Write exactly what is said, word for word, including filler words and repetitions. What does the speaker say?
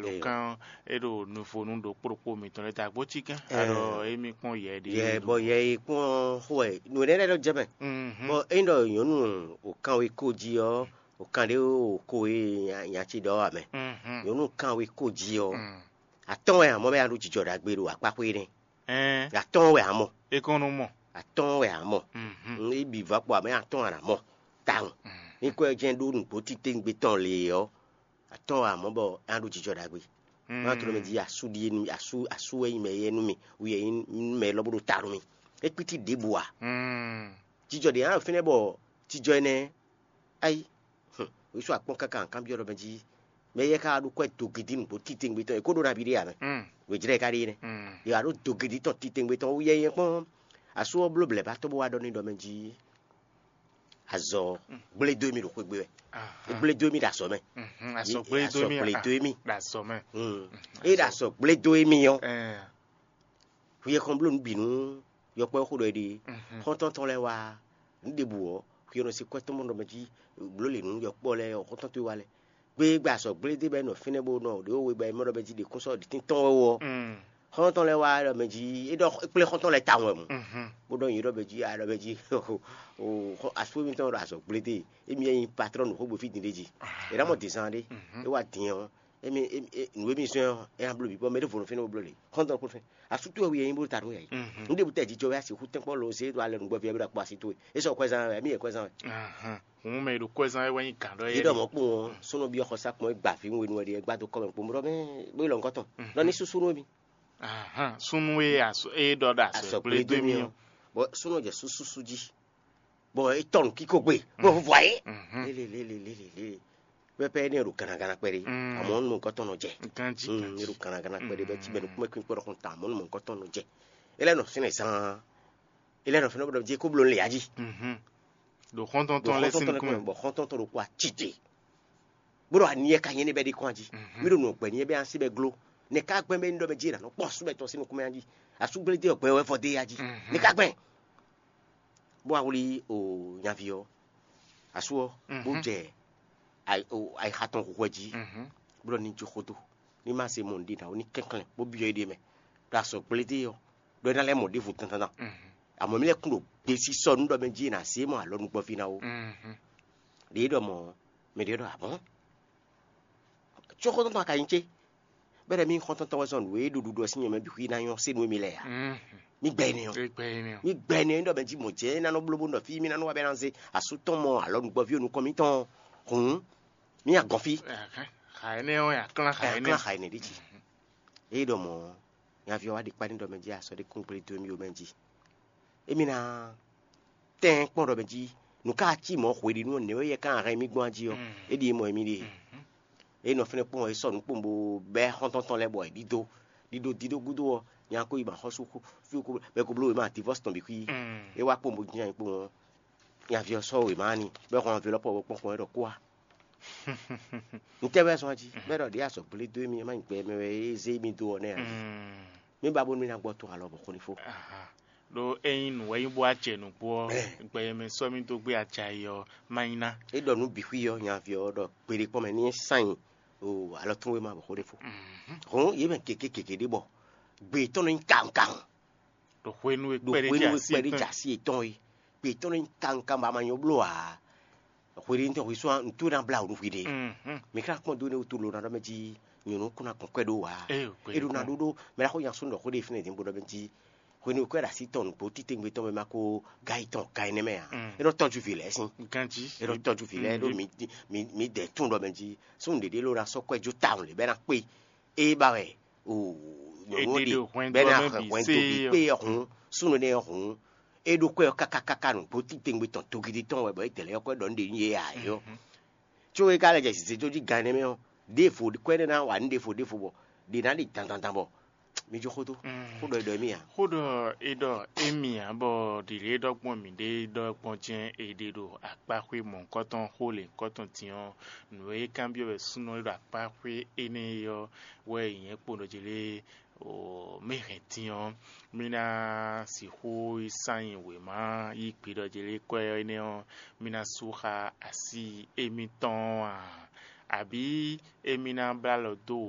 Alɔkán é ɖo nuvonu ɖokpó ɖokpó mitɔn lɛ́ɛ ta gbó cikɛ́n alɔ émí kpɔ́n yɛ ɖé. Yɛ bɔ yɛ yi kpɔ́n xó wɛ nǔ ɖé lɛ́ɛ ɖɔ jɛ mɛ. Mhm. Bɔ é ɖɔ nyɔ̌nu òkan wé kó jí ɔ́, òkan ɖé wé wǒ kó e nya ce ɖɔ wɛ mɛ. Mhm. Nyɔ̌nu kan wé kó jí ɔ́, Mm. atɔ́ɔ́n wɛ amɔ̌ bɛ nya ɖó jijɔ ɖagbe ɖo akpáxwé nɛ́. Ɛn. Atɔ́ɔ́n wɛ amɔ. É kɔn nɔ mɔ. Atɔ́ɔ́n wɛ amɔ. Mhm. Ní bǐ vɔ kpɔ amɛ atɔ́ɔ́n wɛ amɔ. Tawun. Mm. Ní kɔ jɛ́n ɖó nǔgbó títewungbe tɔn lě ɔ́, atɔ́ɔ́n wɛ amɔ bɔ é nya ɖó jijɔ ɖagbe. Mm. Má tló mɛ jí asú ɖíe nú asú asú wɛ nyí mɛ yɛ nú mì, wú yɛ nyí mɛ lɔ bó ɖo ta nú mì. É kpítí ɖěbǔ ǎ. Mm. Jijɔ ɖě nya ɖo fínɛ́ bɔ jijɔ énɛ́ Ayi, hǔn, wěsu akpɔ́n káká kanbyɔ́ ɖɔ mɛ jí mɛ yɛ ka ɖo kwɛ dogidi nǔgbó titewungbe tɔn, è kó ɖó nabí ɖé ǎ mɛ. Mm. Wějlɛ́ ka ɖe énɛ́. Mm. È wǎ ɖó dogidi tɔn titewungbe tɔn wú yɛyɛ kpɔ́n. Asú ɔ́ bló blɛ̌ ba tɔ́ bó wá ɖɔ n'i ɖɔ mɛ jí azɔ gblé dó émí ɖo xwé gbe wɛ. Aha. Gblé dó émí ɖo azɔ mɛ. Mhm, azɔ Yé- gblé dó azɔ émí gblé a- dó émí. Ɖo azɔ mɛ. Mm. É ɖo azɔ gblé dó émí ɔ́. Ɛɛ. Hwi e xɔn bló nǔ bǐ nú yɔkpɔ́ e xo ɖɔ é ɖe. Mhm. Xɔ́ntɔn tɔn lɛ́ɛ wá nǔ ɖěbǔ ɔ́, hwi e nɔ se kwɛ́ tɔn mɔ ɖɔ mɛ jí bló lě nú yɔkpɔ́ lɛ́ɛ ɔ́, xɔ́ntɔn towe wá lɛ́ɛ. Gbé gba azɔ̌ gblé dé bɔ é nɔ fínɛ́ bó nɔ ɖě we bɔ é mɔ ɖɔ mɛ jí ɖě kún sɔ́ ɖě tíntɔ́n wɛ ó ɔ́. Mm. Xɔ́ntɔn lɛ́ɛ wá ɖɔ mɛ jí é ɖɔ é kplé xɔ́ntɔn lɛ́ɛ tawun wɛ mɔ. Mhm. Bó ɖɔ nyi ɖɔ mɛ jí a ɖɔ mɛ jí o xɔ- asú émítɔn ɖo azɔ̌ gblé dé. Émi é nyí patrɔ́n nǔ xógbe fí din ɖé jí. Ah. É ná mɔ dǐnzán ɖé. Mhm. É wá din ɔ́, émi émi- é- nǔ émi zɔ́n ɔ́, é ná bló bǐ bɔ mɛ ɖěvo nɔ fínɛ́ bó bló lě. Xɔ́ntɔn kún fɛ́n. Asú towe wú yɛ nyí bó ta nú yɛ yi. Mhm. Nǔɖé bútɛ jijɔ wɛ asi xú tɛ́nkpɔ́ lo zé ɖo alɛ nǔgbɔ via bí ɖo akpɔ asi towe. É sɔ kwɛzán wɛ, émí yɛ kwɛzán wɛ. Ahan. Hǔn mɛ e ɖo kwɛzán wɛ wɛ nyí gǎn ɖɔ Yé yɛ ɖɔ ɖi. Mɔ̌ kpɔ́n ɔ́, súnnu byɔ́ xɔsá kpɔn é gba vǐ wenu wɛ ɖi é gbá dó kɔ́ mɛ kpɔ́n bó ɖɔ mɛ bó yi lɔ̌nkɔ́ tɔn. Mhm. Ɖɔ ní súsú nú émí. Ahan. Súnnu e aso- e ɖɔ ɖo asɔ Asɔ gblé gblédó dó mì mì ɔ́. Ɔ́. Bɔ súnnu jɛ súsúsú jí. Bɔ é tɔ nǔ kíko gbe. Bó vɔ ayé. Mhm. Lélelélelélelé. Pɛpɛ énɛ́ ɖo gannagana kpɛɖé. Mm. Àmọ́ nú nukɔn tɔn nɔ jɛ. Ganjí Mm, ganjí. É ɖo gannagana kpɛɖé bɛ tí bɛ nukúnmɛ kpín kpɔ́ ɖɔkun ta àmọ́ nú nukɔn tɔn nɔ jɛ. É lɛ́ nɔ fínɛ́ zaan. É lɛ́ nɔ fínɛ́ bó ɖɔ jí kó bló lě ají. Mhm. Ɖo xɔ́ntɔn Ɖo tɔn lɛ́ sín xɔ́ntɔn tɔn nukúnmɛ. Bɔ xɔ́ntɔn tɔn ɖo kó aci te. Bó ɖɔ ani yɛ ka nyɛ ní bɛ ɖi kɔn ají. Mhm. Mí ɖo nǔ gbɛ ní yɛ bɛ asi bɛ gló. Nɛ ká gbɛn bɛ ní ɖɔ bɛ jí è nǎ nɔ kpɔ́n asú bɛ tɔn sín nukúnmɛ ají. Asú gblédé ɔgbɛ wɛ vɔ dé ají. Mhm. Nɛ ká gbɛn. Bó wá wlí o nyaví ɔ́, asú ɔ́, bó Mhm. jɛ ayi- o ayixa tɔn xwɛ jí, Mhm. bó ɖɔ ní jó xódó, ní má se mɔ nǔɖé ná ó ní kɛnklɛ́n, bó byɔ́ éɖée mɛ, ɖo azɔ̌ gblé dó é ɔ́, ɖɔ é ná lɛ́ mɔ ɖěvo dandan. Mhm. Àmọ́ mí lɛ́ kún ɖo gbesisɔ nú ɖɔ mɛ jí è nǎ zé mɔ alɔ nukpɔ́ví ná ó. Mhm. Ɖě é ɖɔ mɔ̌ ɔ́, mɛ ɖě ɖɔ abɔ̌n. Có xɔ́ntɔn tɔn ka nyí cé? Bɛ́ ɖɔ mí xɔ́ntɔn tɔn wɛ zɔn nǔ e ɖo ɖuɖu ɔ́ sín nyɔ̌ mɛ bǐ xwí ná nyɔ́ sé nú émí lɛ́ɛ ǎ. Mhm. Mí gbɛ énɛ́ ɔ́. Mí gbɛ énɛ́ ɔ́. Mí gbɛ énɛ́ ɔ́, mí ɖɔ mɛ jí mɔ̌ jɛ é ná nɔ bló bó nɔ fí mí ná nɔ wá bɛ́ ná zé asú tɔn mɔ alɔ nǔgbɔ́ví ɔ́ nukɔn mítɔn ɔ́. Hǔn, mí nyi agɔn fí. Ɛhɛn, xa énɛ́ ɔ́, nyi aklán xa Ayɔ énɛ́. Klán xa énɛ́ ɖíe jí. Ée ɖɔ mɔ̌ ɔ́, nyaví ɔ́ wá ɖe kpá n'i ɖɔ mɛ jí asɔ́ ɖé kún gblé dó émí ó mɛ jí. Émí ná tɛ́n kpɔ́n ɖɔ mɛ jí nǔ ká cí mɔ̌ hweɖínu ɔ́, nɛ̌ wɛ yɛ ká hɛn mì gbɔn jí ɔ́, é ɖíe mɔ émí ɖe. É nɔ fɛ́nɛ kpɔ́n ɔ́, é sɔ́ nǔ kpɔ́n bó bɛ́ xɔ́ntɔn tɔn lɛ́ɛ bɔ è ɖídó. Ɖíɖó dídó gúdo ɔ́, nya ko yi ba xɔ́sú xú fí ko bɛ ko bló wěma divɔ́si tɔn bǐ xwí. É wá kpɔ́n bó jínjɔ́n ayǐ kpɔ́n ɔ́, nyaví ɔ́ sɔ́ wěma n'i, bɔ é hɔn anvilɔ́pɔ ɔ́ kpɔ́n kpɔ́n é ɖɔ kú a. Ntɛ́ wɛ zɔn jí, bɔ é ɖɔ ɖě azɔ̌ gblé dó émí, é má nyí gbɛ mɛ wɛ é zé émí dó ɔ́ nɛ́ ǎ. Mí ba bónú mí ná gbɔ to alɔ bɔ xó ní fó. Aha. Ɖó ényí nǔ wɛ nyí bó acɛ nǔgbó ɔ́, gbɛ e mɛ sɔ́ mì dó gbé aca yi ɔ́, má nyí ná. É ɖɔ nǔ bǐ xwí ɔ́, nyaví ɔ́ ɖɔ gbeɖé kpɔ́n mɛ ní é sán nyi o alɔ tún wéma bɔ xó ní fó. Hɔn yě mɛ gěgé gěgé ɖé bɔ gbe tɔn nɔ nyí kawun kawun. Ɖo hwenu e Ɖo kpɛɖé hwenu jɛ e asi kpɛɖé jɛ etɔn. Asi etɔn é, gbe tɔn nɔ nyí kawun kawun bɔ a ma nyɔ bló ǎ. Hweɖénu tɔn hwesú ɔ́, nǔ tó ná blá wǔ nú hwiɖée. Mhm. Mi ka kpɔ́n dó énɛ́ wútu lo ná ɖɔ mɛ jí nyɔ̌nu kún ná gbɔn kwɛ ɖó ǎ. Ée, gbɛɖe É ɖó ná kpɔ́n. Ɖó ɖó mɛ ná xo nya sónú ɖɔ xó ɖé fínɛ́ dín bó ɖɔ mɛ jí hwenu e kwɛ ɖo así tɔn nǔgbó títewungbe tɔn mɛ ma ko ga yi tɔn ga énɛ́ mɛ ǎ. Mm. É nɔ tɔ́jú vǐ lɛ́ɛ sín. Ganjí. É nɔ tɔ́jú vǐ lɛ́ɛ ɖó mi mi mi dɛ tún ɖɔ mɛ jí súnnu ɖěɖé ló ná sɔ́ kwɛ jó tawun lě bɛ ná kpé. É ba wɛ o nyɔ̌nu Èdè ɖe ɖo hwɛndo bɛ ná ɔ́ mɛ bǐ hwɛndo sé bǐ ɔ́. Kpé ɔ́ hǔn súnnu énɛ́ ɔ́ hǔn é ɖó kwɛ ɔ́ káká káká nǔgbó títewungbe tɔn togidi tɔn wɛ bɔ é dɛ̌ lɛ́ ɔ́ kwɛ ɖɔ nú ɖě nyí yě ǎ é ɔ́. Có é ka lɛ jɛ zǐzéjó jí gan énɛ́ mɛ ɔ́, ɖěvo kwɛ́ énɛ́ ná wa nǔ ɖěvo ɖěvo bɔ ɖě ná ɖi dandandan bɔ mi jó xódó. Mm. Xó ɖɔ è ɖɔ émí ǎ. Xó ɖɔ è ɖɔ émí ǎ, bɔ ɖǐɖě ɖɔ gbɔn mǐɖée ɖɔ gbɔn jɛ́n è ɖe ɖo akpáxwé mɔ̌hunkɔtɔn xó lěhunkɔtɔn din ɔ́, nǔ e kanbyɔ́ wɛ súnnu e ɖo akpáxwé énɛ́ é ɔ́ wɛ nyɛ kpo ɖɔ jɛ lé o mɛ hɛn din ɔ́, mí ná sixú yi sán nyi wěma yi gbe ɖɔ jɛ lé kwɛ́ énɛ́ ɔ́, mí ná sú xá así émítɔn ɔ́ a? Abǐ émí ná blá alɔ dó